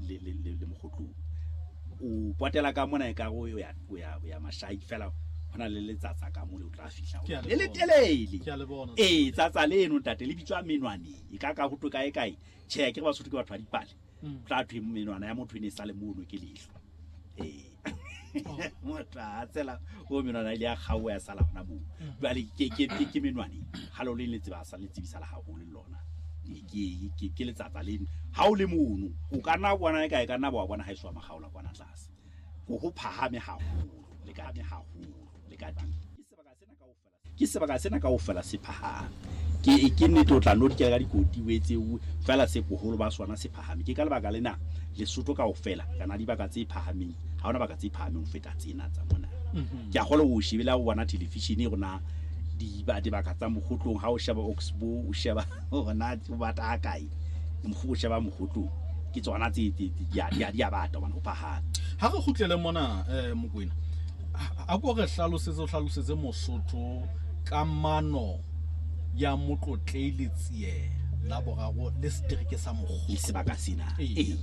le le le, le Mokgotlong. O potela ka mona e ka o ya o ya o ya Mashai fela ho na le letsatsa ka mo le o tla fihla Ke a le le le bona. telele. Ke a le bona. Ee, tsatsa leno ntate le bitswa menwaneng. E ka ka ho twe kae kae. Tjhe, ke re Basotho ke batho ba dipale. Mm. Tla thwe menwana ya motho e ne e sale mono ke leihlo. Ee. Oh. Motho a tsela o menwana ile ya kgaoha ya sala hona moo. Jwale ke ke ke ke menwaneng. Ha lo le le tseba sa le tsebisala haholo le lona. Ee, Ke ke ke letsatsa leno. Ha o le mono, o ka nna wa bona e ka e ka nna wa bona ha e soa makgaola kwana tlase. Ho ho phahame haholo, le ka haholo, le ka teng. Ke sebaka sena kaofela ke sebaka sena kaofela se phahame. Ke ke nnete o tla no dikela ka dikoti o etse o fela se boholo ba sona se phahame. Ke ka lebaka lena Lesotho kaofela kana dibaka tse phahameng ha hona baka tse phahameng ho feta tsena tsa mona. Ke a kgolwa o shebile ha o bona television e rona dibaka tsa Mokgotlong ha o sheba Oxbow o sheba hore na o bata ha kae o sheba Mokgotlong ke tsona tse tse di a di a di a bata hobane ho phahame. Ha re kgutlele mona Mokoena, a ko re hlalosetse o hlalosetse Mosotho kamano ya Motlotlei Letsie la boraro le setereke sa Mokgotlo. Le sebaka sena. Ee. Ee.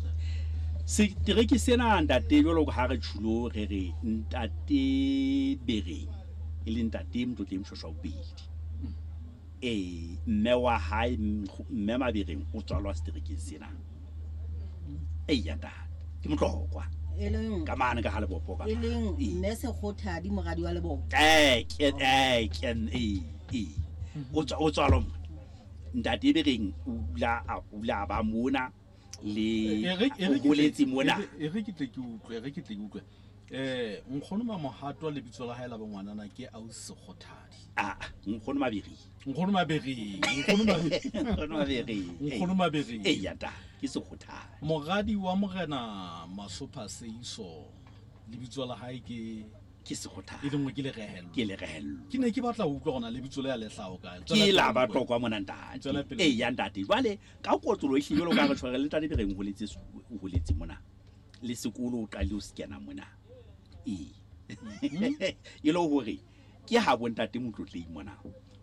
Setereke sena ntate jwalo ka ha re tjhulo re re ntate Bereng e le ntate Motlotlei Moshoeshoe wa bobedi. Ee, mme wa hae mme Mabereng o tswalwa seterekeng sena. Eya ntate, ke Motlokwa. E leng Ka mane ka ha Lebopo ka. e leng Ee. mme Sekgothadi moradi wa Lebopo. Eh, ke eh ke ee ee. O tswa o tswalwa mona. Ntate Bereng o la a o la ba mona le E re- e re o ke tle- holetse mona. e re- e re ke tle ke utlwe, e re ke tle ke utlwe. Nkgono Mamohato lebitso la hae la bongwanana ke Ausi Sekgothadi. Ah, nkgono Mabereng. Nkgono Mabereng, nkgono Mabereng. Nkgono Mabereng. Nkgono Mabereng. Ee, ya ntate, ke Sekgothadi. Moradi wa Morena Masopha Seiso lebitso la hae ke Ke Sekgothadi. E lengwe ke Lerehelo. Ke Lerehelo. Ke ne ke batla ho utlwa hore na lebitso le ya le hlaha kae. Ke la Batlokwa mona ntate. Tswela pele. Ee, ya ntate. Jwale ka kotlolo ehlile jwalo ka re tshware le ntate Bereng o holetse o holetse mona. Le sekolo o qadile o se kena mona. Ee. E le hore ke ha bo ntate Motlotlei mona.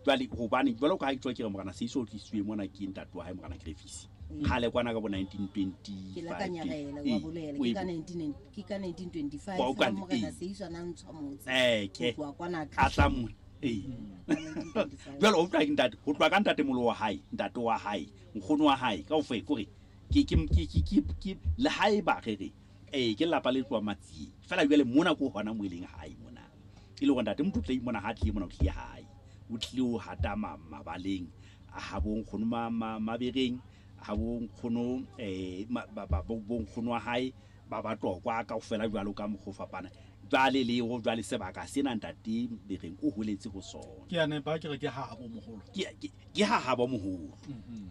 Jwale hobane jwalo ka ha ke tswa ke re Morena Seiso o tlisitswe mona ke ntate wa hae Morena Grefisi. Kgale kwana ka bo 1925. Ke la ka nyarela Ee, wa bolela o ke e ka bo- 19 ke ka 1925 Wa utlwa ha Morena ee. Seiso a na ntshwa motse. Eh, ke. Ho tloha kwana A tla mona. Ee. 1925. Jwale o utlwa ke ntate, ho tloha ka ntate molo wa hae, ntate wa hae, nkgono wa hae, kaofela kore ke ke ke ke ke ke le haeba re re ee ke lelapa le tloha Matsieng. Fela jwale mona ko hona mo e leng hae mona. E le hore ntate Motlotlei mona ha tlile mona o tlile hae. O tlile ho hata mabaleng a habo nkgono Mabereng, habo nkgono ba ba bo nkgono wa hae ba Batlokwa kaofela jwalo ka mokgwa o fapana. Jwale le ho jwale sebaka sena ntate Bereng o holetse ho sona. Ke a nepa ke re ke ha habo moholo. Ke ke ke ha habo moholo.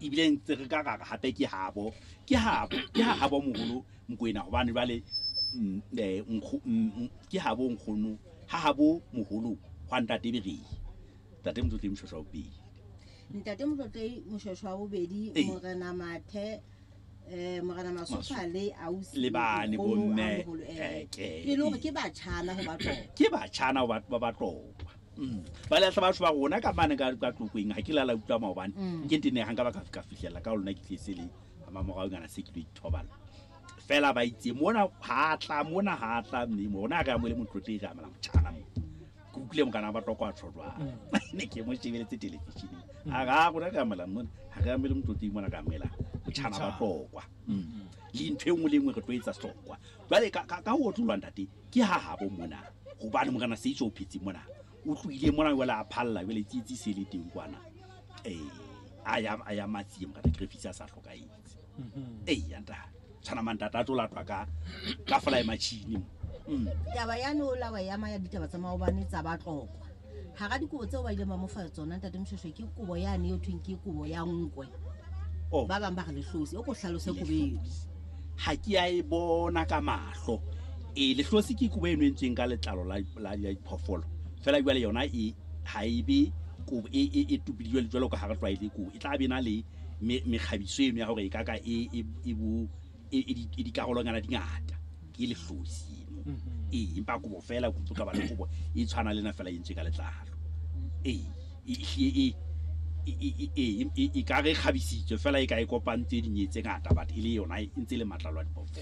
Ebile ntse re ka ra re hape ke habo, ke habo, ke ha habo moholo Mokoena hobane jwale ke habo nkgono, ha habo moholo hwa ntate Bereng. Ntate Motlotlei Moshoeshoe wa bobedi. Ntate Motlotlei Moshoeshoe wa bobedi, Ee. Morena Mathe, Morena Masopha le ausi Le bane nkgono bo a mme, moholo, ke. E le hore ke batjhana ho Batlokwa. Ke batjhana ho ba Batlokwa. Ba le batho ba rona ka mane ka ka Tlokweng ha ke la la utlwa maobane. Ke ntene ha nka ba ka fihlella ka lona ke tletse le mamorao ngana se ke lo ithobala. Fela ba itse mona ha tla mona ha tla mme mona re amohele Motlotlei re amela motjhana mo. Ke utlwile mokana ba Batlokwa a tjho jwang. Ne ke mo shebeletse television-eng. A re ha rona re amohela mona ha re amohele Motlotlei mona re amohela motjhana Batlokwa. Le ntho e nngwe le e nngwe re tlo etsa Setlokwa. Jwale ka ka ka ho otlolwa ntate ke ha habo mona. Hobane Morena Seiso o phetse mona. O tlohile mona jwale a phalla jwale tsietsi se le teng kwana. A ya a ya Matsieng Morena Grefisi a sa hlokahetse. Ee ya ntate. Tshwana mantata a tlo latwa ka ka fly machine mo. Taba ya no la wa ya maya ditaba tsa maobane tsa Batlokwa. Hara dikobo tseo ba ileng ba mo fa tsona ntate Moshoeshoe ke kobo yane eo thweng ke kobo ya nkwe. Oh. Ba bang ba re lehlosi, o ko hlalose kobo eo. Ha ke a e bona ka mahlo. E lehlosi ke kobo e entsweng ka letlalo la la la diphoofolo. Fela jwale yona e ha e be kobo e e e tupidilwe jwalo ka ha re tlwaele kobo. E tla be na le mekgabiso eno ya hore e ka ka e e e bo e e di e dikarolonyana di ngata. Ke lehlosi eno. Ee, empa kobo fela ko ka ba le kobo e tshwana le ena fela e entswe ka letlalo. Ee, e e e e e e ka re kgabisitswe fela e ka e kopantse dinye tse ngata but e le yona e ntse le matlalo a diphoofolo.